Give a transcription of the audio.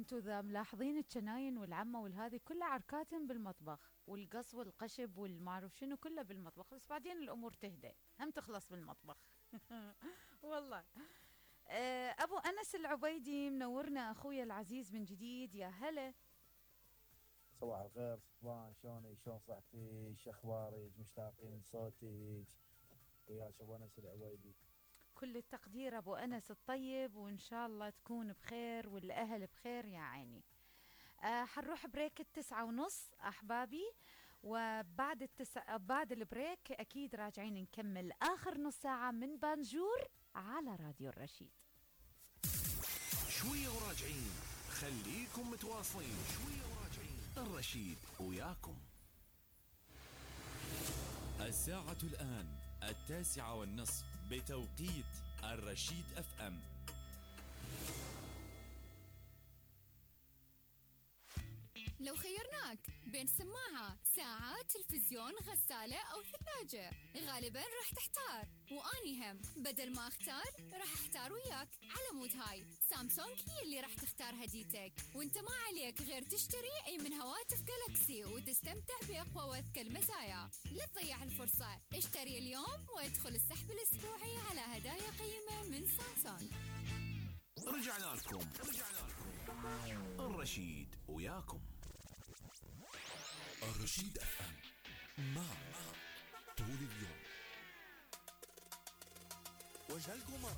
انتو ذا ملاحظين الجناين والعمة والهذي كلها عركاتهم بالمطبخ، والقص والقشب والمعروف شنو كله بالمطبخ، بس بعدين الامور تهدى هم تخلص بالمطبخ. والله. ابو انس العبيدي منورنا اخويا العزيز من جديد، يا هلا. صباح الخير صبان، شلونك؟ شلون صحتك؟ شو اخبارك؟ مشتاقين لصوتك وياك ابو انس العويدي. كل التقدير ابو انس الطيب، وان شاء الله تكون بخير والاهل بخير يا عيني. حنروح بريك 9:30 احبابي، وبعد بعد البريك اكيد راجعين نكمل اخر نص ساعة من بانجور على راديو الرشيد. شوية وراجعين، خليكم متواصلين. شوية وراجعين، الرشيد وياكم. الساعة الآن 9:30 بتوقيت الرشيد اف ام. لو خيرناك بين سماعة، ساعة، تلفزيون، غسالة أو ثلاجة، غالباً راح تحتار، وأني هم بدل ما أختار راح أختار وياك. على مود هاي سامسونج هي اللي راح تختار هديتك، وانت ما عليك غير تشتري أي من هواتف جالكسي وتستمتع بأقوى وأذكى المزايا. لا تضيع الفرصة، اشتري اليوم وادخل السحب الأسبوعي على هدايا قيمة من سامسونج. رجعنا لكم الرشيد وياكم. الرشيد اف ام معك طول اليوم. وجه القمر